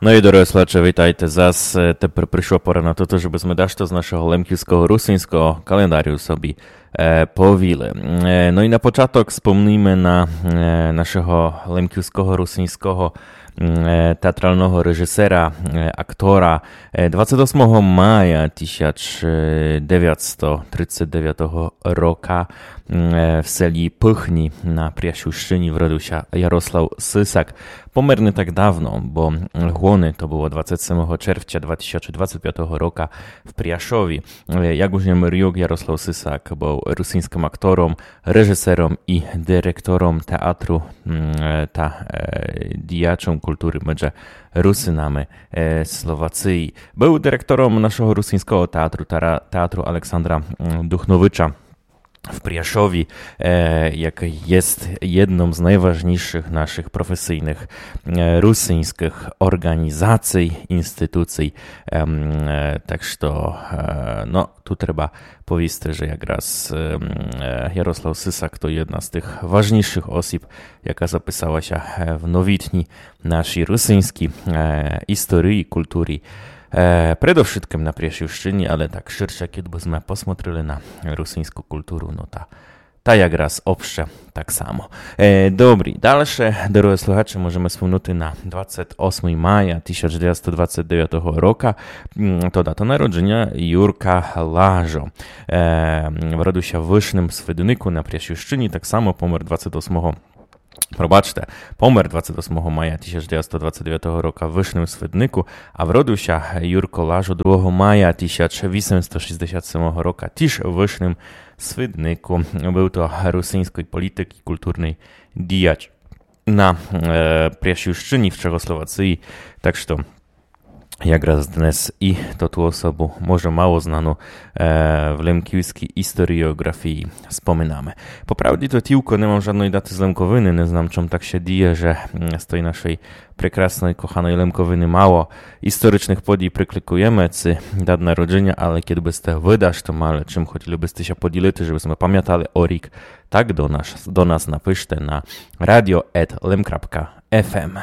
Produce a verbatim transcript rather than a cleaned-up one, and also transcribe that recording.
Но і, дорогы слухаче, вітайте зас. Е, тепер пришла пора на тото, жебы зме дашто з нашого лемківского русинського календарю собі, е, повіли. Е, но і на початок спомніме на, е, нашого лемківского русинського, м, е, театралного режисера, е, актора. Е, двадцет осмого мая тисяч девятсто тридцет девятого рока, м, е, в селі Пыхні на Пряшівщыні вродив ся Ярослав Сисак. Помер не так давно, бо льгоны то было двадцет семого червця два тисячі двадцет пятого рока в Пряшові. Е, як уж єм рік, Ярослав Сисак быв русинськым актором, режисером і директором театру, м, е, та, е, діячом культуры медже Русинами, е, Словації. Быв директором нашого русинського театру, тара-, театру Александра, м, Духновича в Пряшові, е, якый єст єдном з найважнішых нашых професійных, е, русинськых орґанізацій, інституцій. Ем, е, так што, е, но, ту треба повісти, же якраз, ем, е, Ярослав Сисак то єдна з тых важнішых осіб, яка записала ся, е, в новітній нашій русинській, е, історії, культурі. Е, предовшыткым на Пряшівщыні, але так ширше, кідь бы зме посмотрили на русинську культуру, но та, та якраз обще так само. Е, добрі, дальше, дорогы слухаче, можеме спомнути на двадцет осмый мая тисяч девятсто двадцет девятого рока, м, то дата народжыня Юрка Лажо. Е, вродив ся в Вышным Свиднику на Пряшівщыні, так само помер двадцет осмого, пробачте, помер двадцет осмого мая тисяч девятсто двадцет девятого рока в Вышным Свиднику, а вродив ся Юрко Лажо другого мая тисяч вісемсто шістдесят семого рока тіж в Вышным Свиднику. Быв то русинськый політик і культурный діяч на, е, Пряшівщыні в Чехословації. Так што якраз днес і тоту особу, може мало знану, е, в лемківскій історіоґрафії споминаме. По правді то тілько не мам жадной даты з Лемковины, не знам, чом так ся діє, же, м, з той нашой прекрасной, коханой Лемковины мало історичных подій прикликуєме, ци дат народжыня, але кідь бы сте вы дашто мали, чым хотіли бы сте ся поділити, жебы зме памятали о рік, так до нас, до нас напиште на радіо ет лем крапка еф ем.